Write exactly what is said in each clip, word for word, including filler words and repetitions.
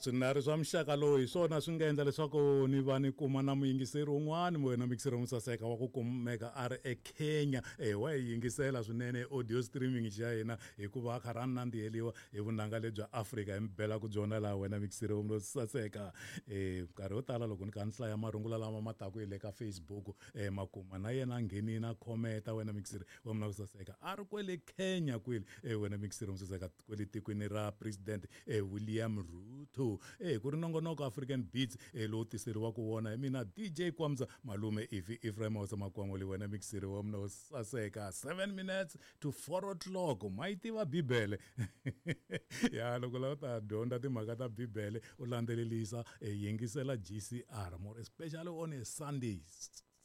Swinharhu swa muxaka lowu hi swona swi nga endla leswaku ni va ni kuma na muyingiseri wun'wani, wena muyingiseri wo saseka, wa ku kumeka a ri eKenya. E wa hi yingisela swinene audio streaming xa hina, hikuva a karhi a nandziheliwa hi vunanga lebya Afrika hi mi belaka byona laha, wena muyingiseri wo saseka. E nkarhi wo tala loko ni kha ni hlaya marungula lama ma taku hi le ka Facebook, e makuma na yena a nghenini a khometa, wena muyingiseri wa mina wo saseka, a ri kwele Kenya kwele. E wena muyingiseri wo saseka, kwele tikweni ra President e William Ruto. E ku ri nongonoko African Beats e lowu tiseriwaka wona hi mina D J Kwamza Malume Ifi Ephraim Hosa Makwangoli, wena muyingiseri wa mina wo saseka. seven minutes to four o'clock. Ma yi tiva Bibele ya loko lava ta dyondza timhaka ta Bibele, u landzelelisa, e yingisela G C R, more especially on a Sunday.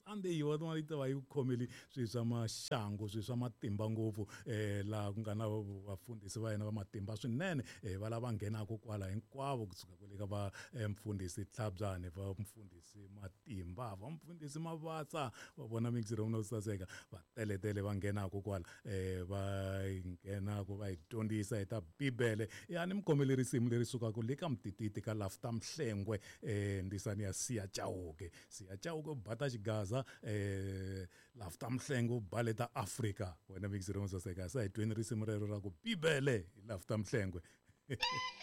Sunday yi va yi ta va yi khomele swilo swa maxangu, swilo swa matimba ngopfu, um laha ku nga na vafundhisi va hina va matimba swinene, um va lava nghenaka kwala hinkwavo, kusuka kwale ka va mfundhisi Tlhabyane, va mfundhisi Matimba, va mfundhisi Mavatsa, va vona mixiro no saseka, va teletele va nghenaka kwala, um va nghenaka va hi dyondzisa hi ta Bibele. Ya ni mi khomele risimu leri sukaka le ka Mtititi ka Lafta Mhlengwe, um ndisani ya Siya Chauke. Siya Chauke bata xigaza, eh Lafta Mhlengwe baleta Afrika. Wena mixiro no saseka, sa hi tweni risimu rero ra ku Bibele hi Lafta Mhlengwe.